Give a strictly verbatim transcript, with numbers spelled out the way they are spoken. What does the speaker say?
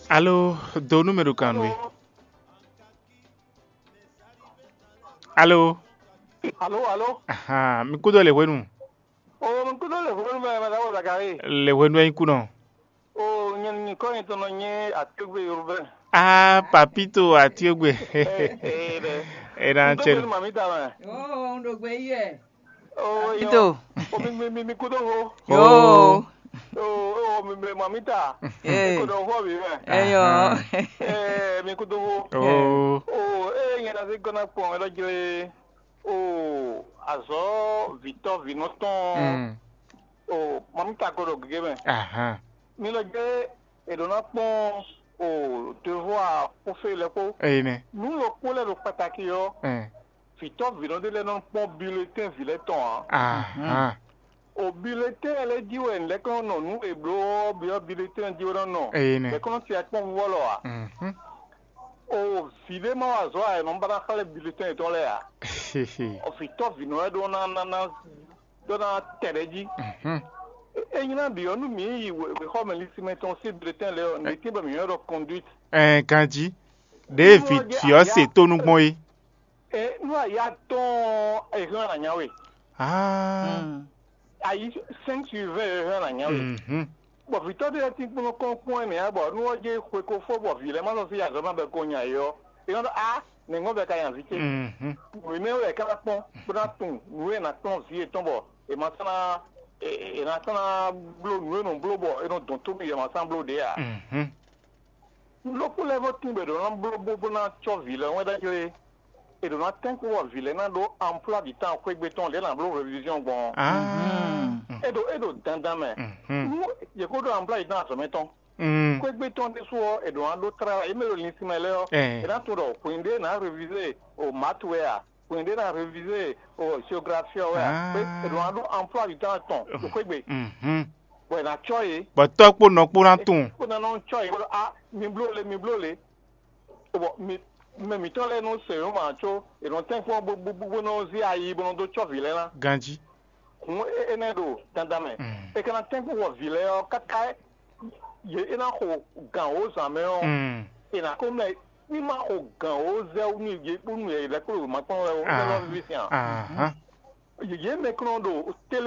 Alo, do nú mɛ ɖo kan nú we. Alo. Alo, alo. Ahan, mi kúdó le hwenu. O, mi kúdó le hwenu mɛ, mɛ ɖaxó Zakari. Le hwenu wɛ nyí kú nɔ. O, nyɛ nyikɔ nyitɔn nɔ nyí Atíogbe Yorùbá. Ah, papito Atíogbe. Ee, ee, ɖe. E na N cɛ. Kúdó hwenu mami ta mɛ. Oo, un ɖo gbe yi wɛ. Oo, Ito. O mi mi mi mi kúdó ho. Yoo. Oo, oo, mi mi mami ta. Ee. Kúdó ho mi mɛ. Eyɔ. Ee, mi kúdó ho. Oo. Oo, ee, nyɛ na se gɔna kpɔn ɛ lɔ jlé. Oo, azɔ vitɔ vinɔ tɔn. Mm. Oo, mami ta ko ɖo gege mɛ. Ahan. Mi lɔ jlé, e ɖo na kpɔn o devoir kpó fé lɛ kpó. Eyi nɛ. Nu ɖokpó lɛ ɖo kpataki ɔ. Ɛn. Vitɔ vinɔ ɖé lɛ nɔ kpɔn bulletin vi lɛ tɔn a. Ahan. O bulletin lɛ jí wɛ lɛ kɔn nɔ nu e bló ɔ bi ɔ bulletin jí wɛ nɔ nɔ. Eyi nɛ. Lɛ kɔn ti akpɔn vɔ lɔ a. Mhm. O vi ɖé ma wa zɔ a, e nɔ ba na xlɛ bulletin tɔn lɛ a. O vitɔ vinɔ lɛ ɖo na na na ɖo na tɛ ɖe jí. Mhm. E nyina bi ɔ nu mi yi wexɔ mɛ lisimɛ tɔn si bulletin lɛ ɔ, ne tin bɛ mi yɔ ɖɔ conduite. Ɛn, ganjí. Ɖěe vǐ vǐ ɔ́ se tónú gbɔn é. E nú aya tɔn ehɛn na nya we. Ah. Ayi cinq sur vingt ehɛn na nya we. Mhm. Bɔ vitɔ ɖé lɛ́ɛ tínkpɔ́n kɔn kpɔn ɛ mɛ ya bɔ nú ɔ jɛ xwe ko fó bɔ vǐ lɛ́ɛ ma sɔ sí azɔ̌ ma bɛ ko nya yɔ. E nɔ ɖɔ a nɛ̌ bɛ ka nya vǐ ce. Mhm. Wěmɛ wɛ ká ná kpɔn bó ná tunwun nǔ e è nǎ kplɔ́n vǐ yětɔn bɔ è ma sɔ́ ná è è nǎ sɔ́ ná bló nǔ e è nɔ bló bɔ è nɔ dɔn tómì yě ma sɔ́ ná bló ɖě ǎ. Mhm. Lókpó lɛ́ɛ vɔ tín bɔ è ɖǒ ná bló bó bó ná cɔ́ vǐ lɛ́ɛ wɛn ɖ'ajlé. È ɖǒ ná tɛ́nkpɔ́n bɔ vǐ lɛ́ɛ ná ɖó amplá ɖi tán xwégbé tɔn lě ná bló réviziɔn gbɔn. Ah. É ɖo é ɖo dandan mɛ. Mhm. Nú yě kó ɖó amplá ɖi tán azɔ̌ mɛ tɔn. Mm. Xwégbé tɔn ɖésú ɔ́, è ɖǒ ná ɖó tlala yě mɛ ɖo linsin mɛ lɛ́ɛ ɔ́, Ɛɛ. È ná tunwun ɖɔ hwenu ɖé è nǎ révize o mǎtu wɛ a, hwenu ɖé è nǎ révize o géographie ɔ́ wɛ a, Ah. È ɖǒ ná ɖó amplá ɖi tán tɔn ɖo xwégbé. Mhm. Bɔ è nǎ cɔ́ yě. Bɔ tɔ́ kpó nɔ kpó ná tunwun. Kó ná nɔ cɔ́ yě bɔ a mi bló le mi bló le. Bɔ mi mɛ mǐtɔn lɛ́ɛ nɔ se yǒ ma có è nɔ tɛ́nkpɔ́n bó bó bó nɔ zé ayi bó nɔ dó cɔ́ vǐ lɛ́ɛ ná. Ganjí. Hǔn é énɛ́ ɖo dandan mɛ. Mm. È ka ná tɛ́nkpɔ́n bɔ vǐ lɛ́ɛ ɔ́ káká yě é ná xo gǎn wǒ zǎn mɛ ɔ́, Mm. è nǎ ko mlɛ ní ma xo gǎn wǒ zɛ wú nú yě kpó nú yě lɛ́ɛ kpó ɖo wěma kplɔ́n wɛ ó, é nɔ víví sín a. Ahán. Yě mɛ kplɔ́n ɖo télé